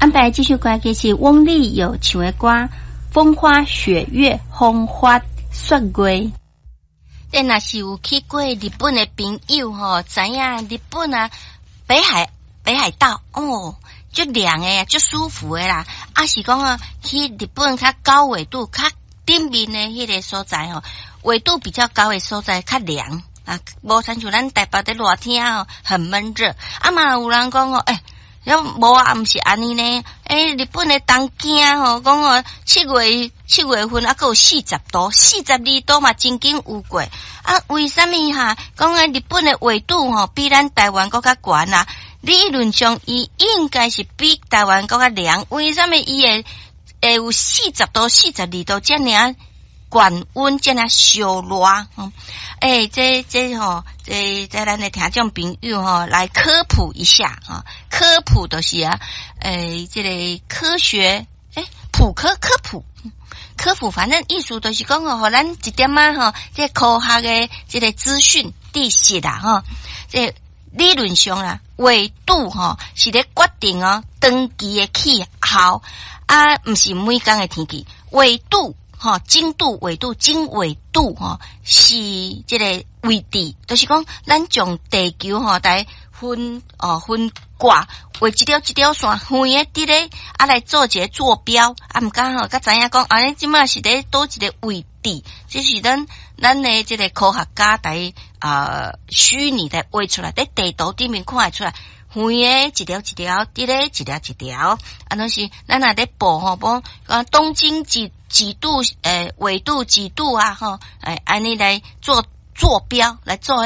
安排這首歌曲是翁立友唱的歌《風花雪月》，風花雪月。這若是有去過日本的朋友吼，知影日本啊，北海道哦，足涼的，足舒服的啦。啊是講啊，去日本較高緯度、較頂面的彼个所在吼，緯度比較高的所在較涼啊，無親像咱台北佇熱天吼，很悶熱。啊嘛有人講哦，欸，無啊，毋是按呢呢？欸，日本的東京吼，講哦，7月份啊，閣有40度，42度嘛，曾經有過。啊，為啥物哈？講啊，日本的緯度吼，比咱台灣閣較懸啊？理論上，伊應該是比台灣閣較涼。為啥物伊會有40度、42度遮爾懸溫，遮爾燒熱？欸，這吼，這咱的聽眾朋友吼，來科普一下啊！科普就是啊，欸，這個科學，欸，普科科普，科普，反正意思就是講哦，予咱一點仔吼，這科學的這個資訊知識啦，吼，這理論上啦，緯度吼是咧決定哦，長期的氣候啊，毋是每工的天氣，緯度。吼，經度、緯度、經緯度，吼，是這個位置，就是講咱將地球吼來分哦分割，畫一條一條線，遠的佇咧啊來做一個坐標，啊毋敢吼，才知影講，啊，這馬是佇佗一個位置，這是咱的這個科學家來啊虛擬的畫出來，佇地圖頂面看會出來。遠的一條一條，佇咧一條一條，啊，攏是咱若咧報吼，講啊東經幾幾度，欸，緯度幾度啊，吼，欸，按呢來做坐標，來做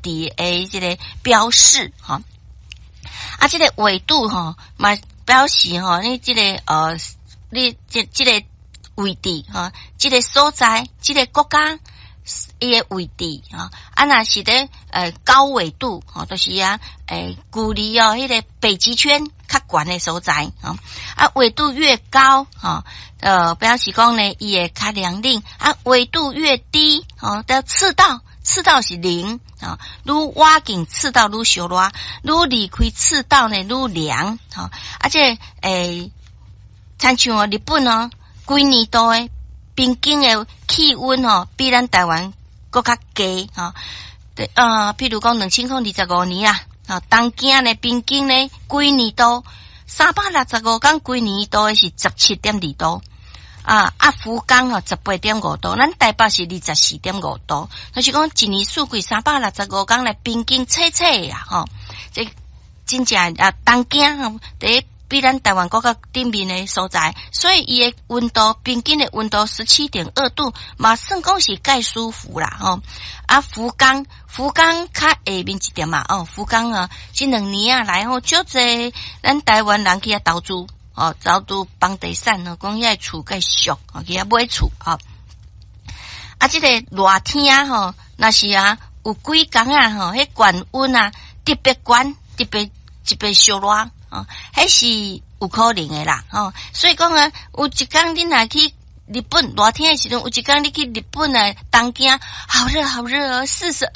彼位置的這個標示，吼。啊，這個緯度吼，嘛表示吼，你這個你這個位置吼，這個所在，這個國家伊的位置吼，啊，若是咧高緯度吼，就是啊，欸，距離哦，彼個北極圈較懸的所在吼，啊，緯度越高吼，表示講呢，伊會較涼冷，啊，緯度越低吼，到赤道，赤道是零啊，愈倚近赤道愈燒熱，愈離開赤道呢愈涼吼，啊，這欸，親像哦，日本哦，規年度的平均的氣溫吼，比咱台灣閣較低吼。對啊，譬如講2025年啊，啊，東京呢平均呢規年度365工規年度的是17.2度。啊，福岡吼18.5度，咱台北是24.5度，就是講一年四季365工來平均測測啊，吼，這真正啊，東京吼，佇比咱台灣閣較頂面的所在，所以伊的溫度平均的溫度17.2度，嘛算講是蓋舒服啦，吼。啊，福岡較下面一點嘛，哦，福岡啊，這兩年啊來吼，足濟咱台灣人去遐投資，哦，投資房地產哦，講遐厝蓋俗，哦，去遐買厝，哦。啊，這個熱天吼，若是啊有幾工啊吼，彼懸溫啊特別懸，特別特別燒熱。哦，彼是有可能的啦，吼，所以講啊，有一工你若去日本熱天的時陣，有一工你去日本的東京，好熱好熱哦，42